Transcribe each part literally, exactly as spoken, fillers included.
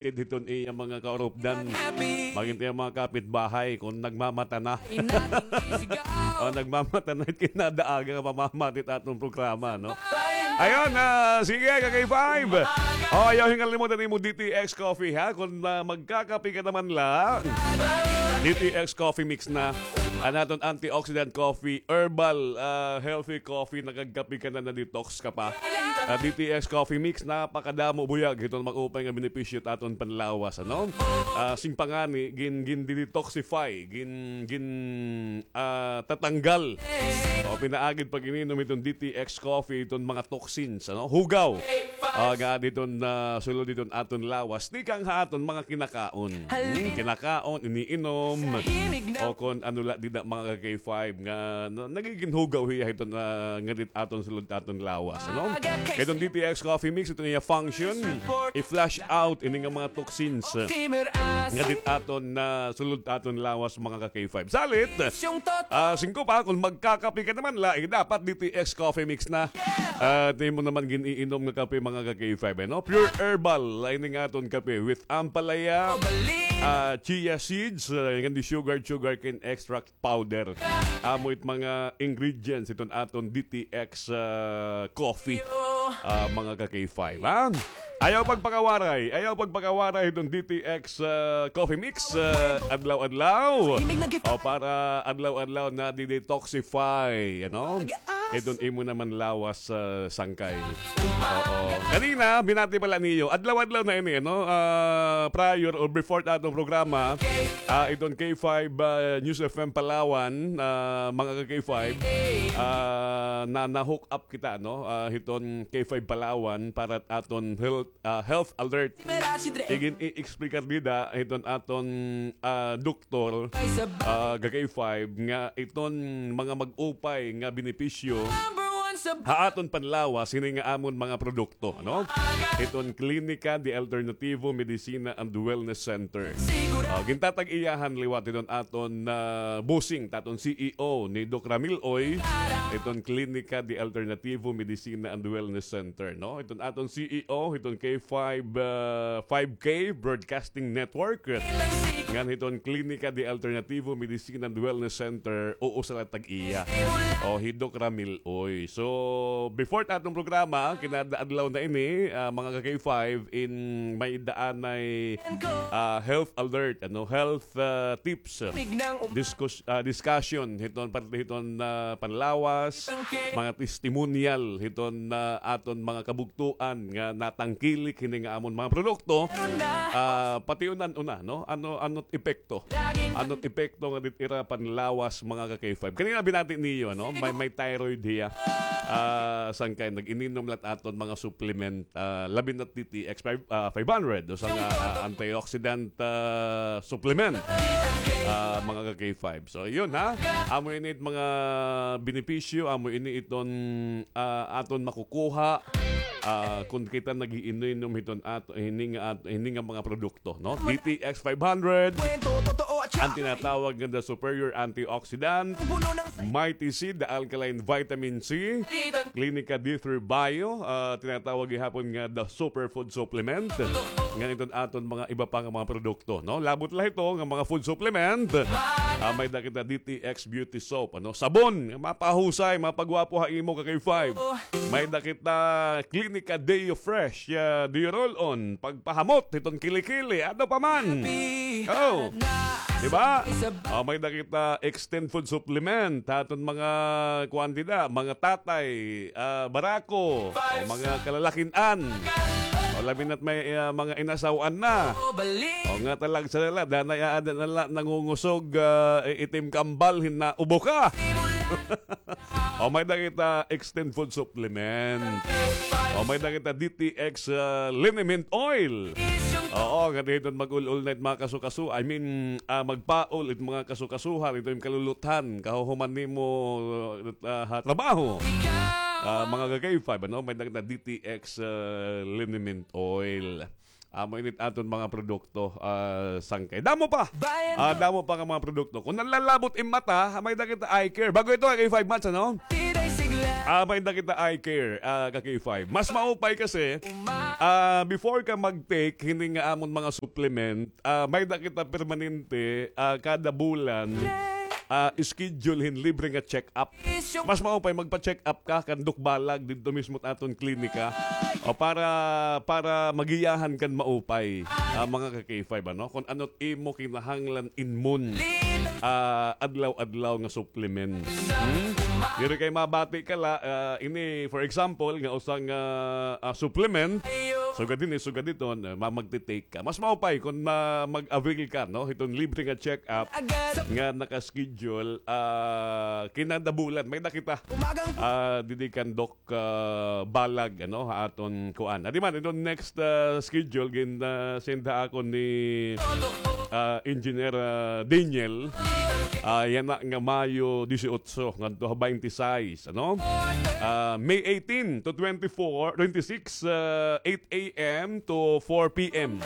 hiton iya mga kaurupdan. Magin it iya mga kapitbahay kon nagmamata na. O, nagmamata na it kinadaaga nga pamamati it aton programa, no? Ayun, ah, sige, ka-K five. O, ayaw hingalimot an imo D T X Coffee, ha? Kon, ah, magkakape ka naman la, D T X Coffee Mix na. An aton antioxidant coffee, herbal, ah, healthy coffee, nakagkape ka na, na-detox ka pa. Ah, D T X Coffee Mix, napakadamo buyag hiton mag-upay nga benepisyo it aton panlawas, ano? Ah, sing pa ngani, gin, gin-detoxify, gin, gin, ah, tatanggal. O, pinaagi it pag-ininom hiton D T X Coffee, hiton mga toxins, ano? Hugaw. Ah, nga hiton, ah, sulod hiton aton lawas, tikang ha aton mga kinakaon. Hmm, kinakaon, iniinom, o kon ano la, dida, mga ka-K five, nga na-, nagigin hugaw hiya hiton, ah, nga dida aton sulod aton lawas, ano? Kay hiton D T X Coffee Mix, hiton iya function, i-flush out ini nga mga toxins, ah, nga dida aton, ah, sulod aton lawas, mga ka-K five. Salit, ah, singko pa, kon magkakape ka naman la, eh, dapat D T X Coffee Mix na. Ah, it imo naman gin-iinom nga kape, mga ka-K five, eh, no? Pure herbal, ini nga aton kape with ampalaya, ah, chia seeds, ah, ngan di sugar, sugarcane extract powder. Amo it mga ingredients hiton aton D T X, ah, coffee, ah, mga ka-K five, ha? Ayaw pagpakawaray, ayaw pagpakawaray hiton D T X, ah, Coffee Mix, ah, adlaw-adlaw. O, para adlaw-adlaw na-detoxify, ano? Hiton imo naman lawas, ah, sangkay. Oo. Kanina, binati pala niyo. Adlaw-adlaw na ini, ano? Ah, prior or before it aton programa, ah, hiton K five, ah, News F M Palawan, ah, mga ka-K five, ah, na, na-hook up kita, no? Ah, hiton K five Palawan para it aton health, ah, health alert. Igin-i-explicar dida hiton aton, ah, doktor, ah, ka-K five, nga iton mga mag-upay nga benepisyo ha aton panlawas, hini nga amon mga produkto, no? Hiton Klinika de Alternativo Medicina and Wellness Center. Ah, gintatag-iyahan liwat hiton aton, ah, bossing, it aton C E O ni Doc Ramil Oy, hiton Klinika de Alternativo Medicina and Wellness Center, no? Hiton aton C E O, hiton K five, ah, five K Broadcasting Network. Ngan hiton Klinika de Alternativo Medicina and Wellness Center, usa la tag-iya. O, hi Doc Ramil Oy. So, before it aton programa, kinada-adlaw na ini, ah, mga ka-K five, in may-ada anay, ah, health alert, ano, health, ah, tips, discus-, ah, discussion, hiton, parte hiton, ah, panlawas, mga testimonial, hiton, ah, aton mga kabugtoan nga natangkilik hini nga amon mga produkto, ah, pati una, una, no? Ano, ano epekto? Ano epekto nga dida it ira panlawas, mga ka-K five? Kanina binati niyo, no? May, may thyroid hiya. Ah, sangkay nag-ininom la it aton mga supplement, ah, labi na it D T X five, ah, five hundred, usa nga, ah, antioxidant, ah, supplement, ah, mga ka-K five. So, yun, ha. Amo ini it mga benepisyo, amo ini iton, ah, aton makukuha, ah, kon kita nag-iinom hiton ato, hini nga at-, hini nga mga produkto, no? D T X five hundred, an tinatawag nga the superior antioxidant, Mighty C, the alkaline vitamin C, Klinika D three Bio, ah, tinatawag gihapon nga the superfood supplement. Ngan iton aton mga iba pa nga mga produkto, no? Labot la hito nga mga food supplement. Ah, may-ada kita D T X beauty soap, ano? Sabon, mapahusay, mapagwapo ha imo, ka-K five. May-ada kita Klinika Deo Fresh, ah, Deo Roll-On, pagpahamot hiton kilikili, ano pa man. Oh. Di ba? Ah, may-ada kita Extend Food Supplement, ha aton mga kuan dida, mga tatay, ah, barako, o mga kalalakin-an. O labi na it may, ah, mga inasaw-an na. O nga talagsa na la, danay aada na la nangungusog, ah, itim kambal, hin naubo ka. O may-ada kita Extend Food Supplement. O may-ada kita D T X, ah, Liniment Oil. Oo, nga dida hiton mag-ul-ol na it mga kasukaso. I mean, ah, magpaol it mga kasukasuhan, ito it kaluluthan, kahuhuman nimo, ah, ha trabaho. Ah, mga ka-K five, ano, may-ada kita D T X, ah, Liniment Oil. Amo ini it aton mga produkto, ah, sangkay. Damo pa. Ah, damo pa nga mga produkto. Kon nanlalabot im mata, may-ada kita eye care. Bag-o ito, ka-K five Mats, ano? Ah, may-ada kita eye care, ah, ka K five. Mas maupay kasi, ah, before ka mag-take hini nga amon mga supplement, ah, may-ada kita permanente, ah, kada bulan, ah, schedule hin libre nga check-up. Mas maupay magpa-check-up ka kan Doc Balag didto mismo ha aton klinika. O para, para magiyahan kan maupay, ah, mga ka K five, ano? Kung ano't imo kinahanglan inmon, ah, adlaw-adlaw nga supplement. Hmm? Diri kay mabati ka la, ah, ini, for example, nga usa nga, ah, supplement, sugad hini, sugad hiton, ah, ma-, magti-take ka. Mas maupay kung ma-, mag-avail ka, no? Hiton libre nga check-up nga naka-schedule, ah, kinada bulan. May-ada kita, ah, didi kan Doc, ah, Balag, ano, ha aton kuan. Adi man, iton next, ah, schedule, gin, ah, send ha akon ni, ah, Engineer, ah, Daniel. Ah, yana nga Mayo dieciocho, ngadto ha twenty-six, ano? Ah, May eighteen to twenty-four, twenty-six, ah, eight A M to four P M.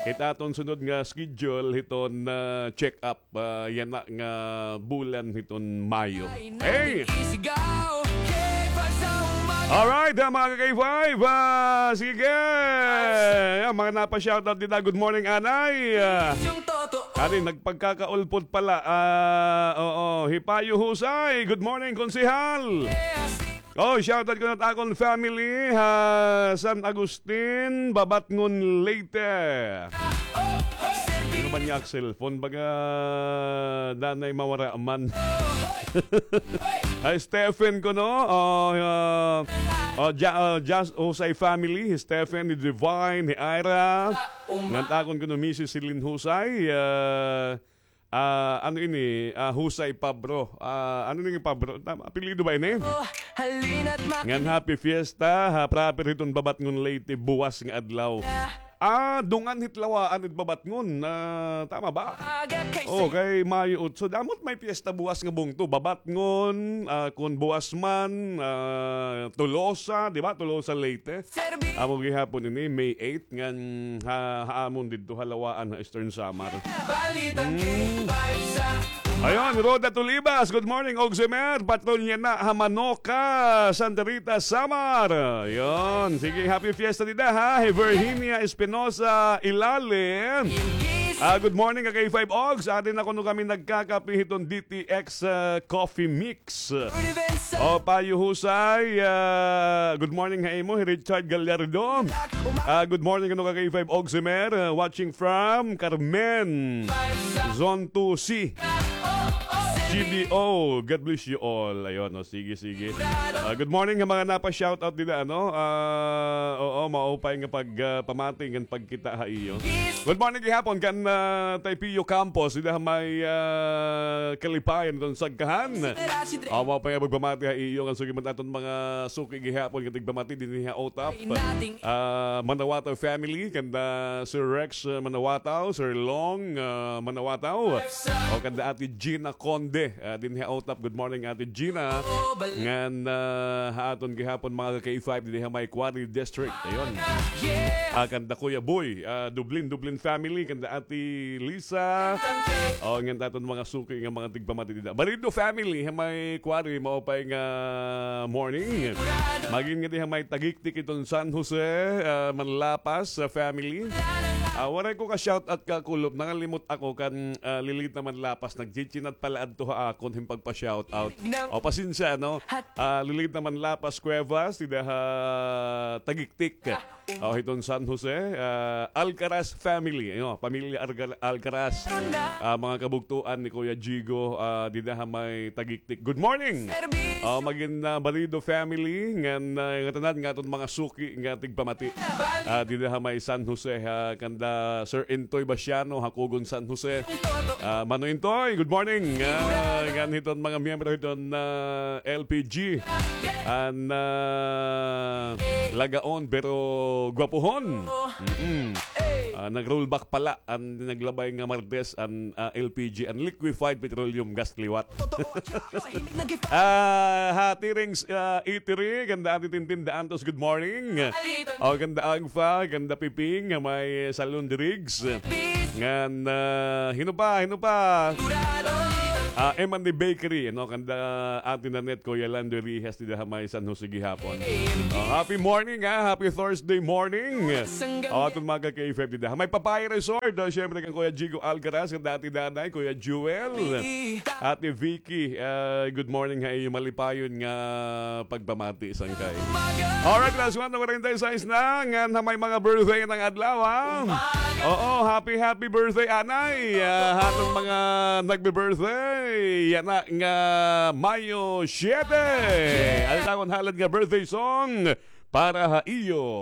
Hit aton sunod nga schedule, hiton, ah, check-up, ah, yana nga bulan hiton Mayo. Hey! Alright, ah, mga ka K five, ah, sige. Ayan, mga napa-shoutout dida. Good morning, anay. Ah, adi, nagpagkakaulpot pala. Ah, oo, Hipayo Husay. Good morning, konsehal. Oh, shoutout kuno ha akon family ha San Agustin, Babatngon, Leyte. Ano man niya, cellphone? Baga, danay mawara man. Hi, Stephen kuno. Oh, ah, oh, Ja-, oh, Jas-, Jose family. Hi Stephen, hi Divine, hi Ira. Ngan ha akon kuno Missus Celine Husay. Ah, ah, ano ini? Ah, Husay Pabro. Ah, ano ini Pabro? Tama, apelyido ba ini? Ngan happy fiesta ha proper hiton Babatngon, Leyte, buwas nga adlaw. Ah, dungan hit lawaan it Babatngon. Ah, tama ba? Oh, kay Mayo otso. Damo't may piyesta buwas nga bungto. Babatngon, ah, kun buwas man, ah, Tolosa, di ba? Tolosa, Leyte. Amo gihapon ini, May eight, ngan ha, ha amon didto ha lawaan ha Eastern Samar. Hmm. Ayun, Rhoda Tulibas, good morning, Ogsimer. Patrolya na ha Manoka, Santa Rita, Samar. Ayun, sige, happy fiesta dida, ha. Hi Virginia Espinosa Ilalim. Ah, good morning, ka K five Ogs. Adi na kuno kami nagkakape hiton D T X, ah, Coffee Mix. O, Payo Husay, ah, good morning ha imo, hi Richard Gallardo. Ah, good morning kuno ka K five Ogsimer, ah, watching from Carmen, Zone two C, G D O. God bless you all. Ayun, o, sige, sige. Ah, good morning ha mga napa-shoutout dida, ano? Ah, oo, maupay nga pag, ah, pamati ngan pagkita ha iyo. Good morning gihapon kan, ah, Tay Pio Campos, dida ha may, ah, Kalipayan, iton Sagkahan. Aw, maupay nga pagpamati ha iyo, ngan sugad man aton mga suki gihapon nga tigpamati dinhi ha Otap. Ah, Manawataw family, kanda Sir Rex, ah, Manawataw, Sir Long, ah, Manawataw. O kanda Ate Gina Conde, ah, dinhi ha Otap. Good morning, Ate Gina. Ngan, ah, ha aton gihapon mga ka K five dinhi ha may Quarry District. Ayun. Ah, kanda Kuya Boy, ah, Dublin, Dublin family, kanda Ate Lisa. O, ngan aton mga suki nga mga tigpamati dida. Balido family, ha may Quarry, maupay nga morning. Magin nga dinhi ha may Tagiktik iton San Jose, ah, Manlapas, ah, family. Ah, waray ko ka-shoutout ka, Kulop. Nangalimot ako kan, ah, Lilita Manlapas. Nagchichinat pala adto ha akon hin pagpa-shoutout. O, pasensya, no? Ah, Lilita Manlapas Cuevas, dida ha Tagiktik. O, hiton San Jose, ah, Alcaraz family, ano, pamilya Alca-, Alcaraz. Ah, mga kabugtoan ni Kuya Jigo, ah, dida ha may Tagiktik. Good morning. Ah, magin, ah, Balido family, ngan, ah, ngatanan nga aton mga suki nga tigpamati. Ah, dida ha may San Jose, ha, kanda Sir Intoy Basiano, Hakugon, San Jose. Ah, Mano Intoy, good morning. Ah, ngan hiton mga miyembro hiton, ah, L P G. An, ah, lagaon pero gwapuhon. Mm-mm. Ah, nag-rollback pala an naglabay nga Martes an, ah, L P G, an liquefied petroleum gas liwat. Ah, ha Tirings, ah, Eatery, kanda Ate Tintin Daantos, good morning. O, kanda Agfa, kanda Piping, nga may Salon de Rigs. Ngan, ah, hin-o pa, hin-o pa? ah, M and D Bakery, no? Kanda Ate Nanette, Kuya Lando Rijas, dida ha may San Jose gihapon. Oh, happy morning, ha? Happy Thursday morning. Oh, aton mga ka-K F M dida ha may Papaya Resort. Oh, syempre kan Kuya Jigo Alcaraz, kan Ate Nanay, Kuya Jewel, Ate Vicky, ah, good morning ha iyo. Malipayon nga pagpamati sangkay. Alright, alas kuwatro kuwarenta y sais na, ngan ha may mga birthday ngada nga adlaw, ha? Oo, happy, happy birthday, anay. Ah, ha aton mga nagbe-birthday, yana nga Mayo siyete. Aldaw kon halad nga birthday song para ha iyo.